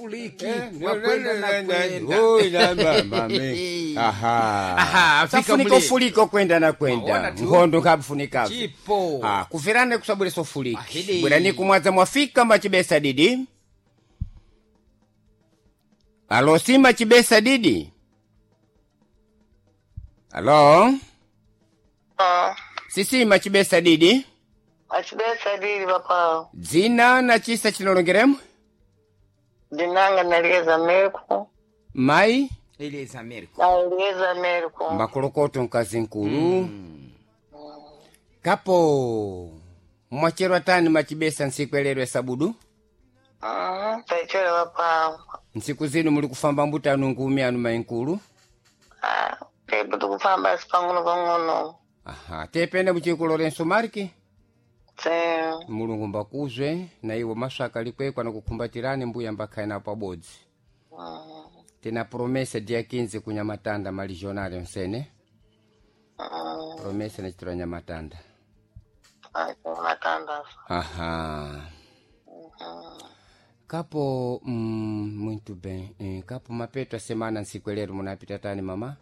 Fuliki Eh, wakwenda na kwenda. Oi, na mama, me. Aha. Aha, afika Safunika mule. ufuliko kwenda na Waona kwenda tu. nkhondo nkhabufunikavu Chipo. Ah, kuverane kusabwera sofuliki Ahidi. bwerani kumwadza mwafika machibesa didi. Alo, sima chibesa didi. Alo. Ah, Sisima chibesa didi. achibesa dili papa. Dzina na chisa chinolongeremo. Dinanga nalieza Ameriko. Mai. Elieza Americo. Nalieza Ameriko. Makolokoto mkazi nkulu. Kapo mwacherwa tani machibesa nsiku sabudu. Mhm, taichele papa. Nsiku zinu muli kufamba mbutanu ngumi anu mainkulu. Ah, pepo tukufamba pang'ono pang'ono. Aha, tependa muchiku Lorenzo Marki. Tse. Mulungu mbakuzwe na iwo maswaka likwekwa na kukumbatirani mbuya mbakhaye napo pabodzi. Tina promesa dia 15 kunyamatanda maligionari onsene. Promesa nachitira nyamatanda. Matanda. Aha. Kapo muito bem. Kapo mapeto a semana nsiku munapita tani mama?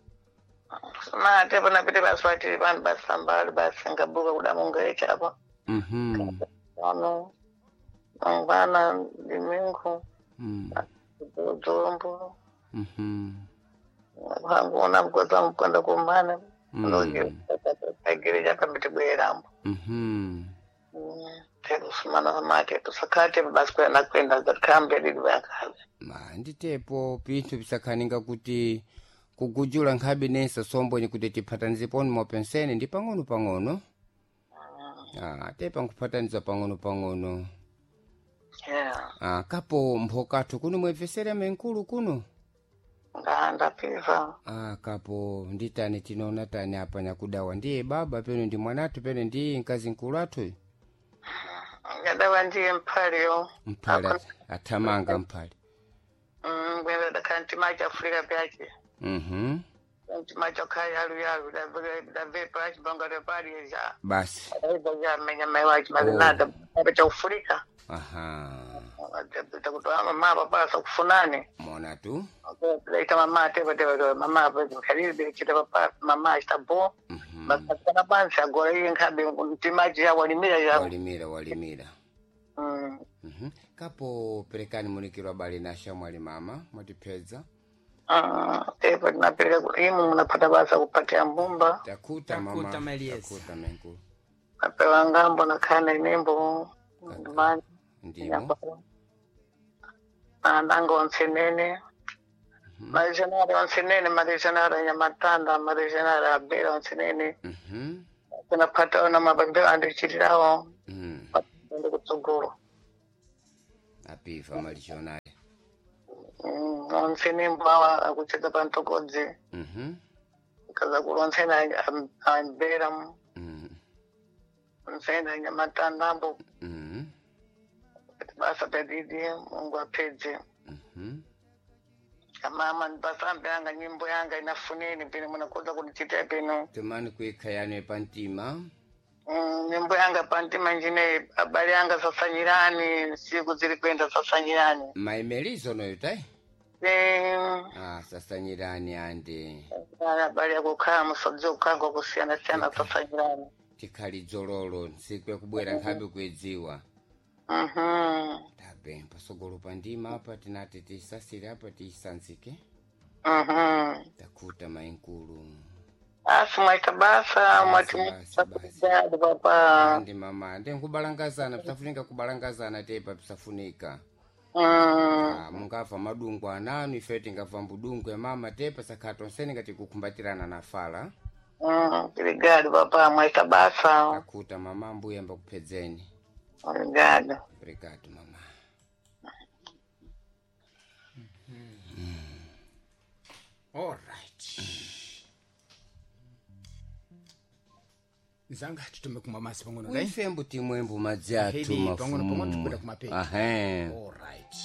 Ma tepo napite basi watili pano basi sambali basi ngabuka kudamunga apa. Mhm. Ano. Mangwana dimingu. Mm. Dzombo. Mhm. Hanguona mkoza mkwenda kumana. Mm. Agereja pambitibwerambo. Mhm. Tekusumana mate tusakate basi kwenda kwenda zakambe lili vakazi. Ma nditepo pinthu pisakhaninga kuti kugujula nkhabe nensa sombonyi kuti tiphatanizeponi mopensene ndi pang'ono pang'ono. Ah, tepa nkuphataniza pang'ono pang'ono. Yeah. Ah, kapo mphokathu kuno mwebvesera menkulu kuno. Ndapisa. Ah, kapo nditani tinoona tani apa nyakudawa ndiye baba peno ndi mwanathu peno ndiye mkazi nkulu athu. Ngadawa ndiye mpaliyo. Mphale athamanga mphale. Ngwenda dakanti maji Afrika pyache. Mhm. Nti maji okali yalu yalu davepa achibonga repali ja. Basi. Ja menya mai wachi mazinada. Cha Afrika. Aha. Takutoa mama papa sakufunane. Mona tu. Laita mama tepa tepa mama kalili chita papa mama chitabo. Mhm. Basakana pansi agora iye nkhabe mtimaji ya walimira ya. Walimira walimira. Mm. Mhm. Kapo perekani munikirwa bali na shamwali mama mwatipedza. Ah, tepa tinapeleka imu munapata basa kupatia mbumba. Takuta mama. Takuta, Melies. Takuta menkulu. Napewa ngambo nakhana inembo ndimani. Ndimo. Ananga onsenene. Marijanara onsenene, marijanara nyamatanda, marijanara abera onsenene. Mhm. Tinapata ona mabambe andichitirawo. Mm. Ndi kutsogolo. Apiva malijonali. Onsenembo awa akuchedza pantokodzi. Mhm. Kaza kuli onsene ambera. Mhm. Onsene nyamatandambo. Mhm. Basa pedidi, Mungu apedze. Mhm. Mama ndipasambe yanga nyimbo yanga inafuneni pino munakoza kundichitira pino. Tumani kuikha yanu pantima. Nyimbo yanga pantima njine abale yanga sasanyirani siku ziri kwenda sasanyirani. Maimelizo noyo tai? Eh, Ah, sasanyirani andi. abale yakukhala musodzi kukhala kusiyana siyana sasanyirani. Tikhali dzololo ntsiku yakubwera nkhabe kuidziwa. Mhm. Tabe pasogolo pa ndima apa tinati tisasire apa tisanzike. Mhm. Takuta mainkulu. Asi mwaita basa mwati Basi, basi. musakujali papa. Andi mama, ndi nkubalangazana pisafunika kubalangazana tepa pisafunika. Mm. Ah, mungafa madungu ananu ife tingafa mbudungu ya mama tepa sakha tonsene ngati kukumbatirana na fala. Obrigado papa mwaita basa. Takuta mama mbuya mbakuphedzeni. Obrigado. Obrigado mama. All right. Nzanga titume kumwa masi pang'ono dai. Uife mbuti mwembu madzi athu Hedi, pang'ono pang'ono mafumu. tikwenda kumapeto. Ahe. All right.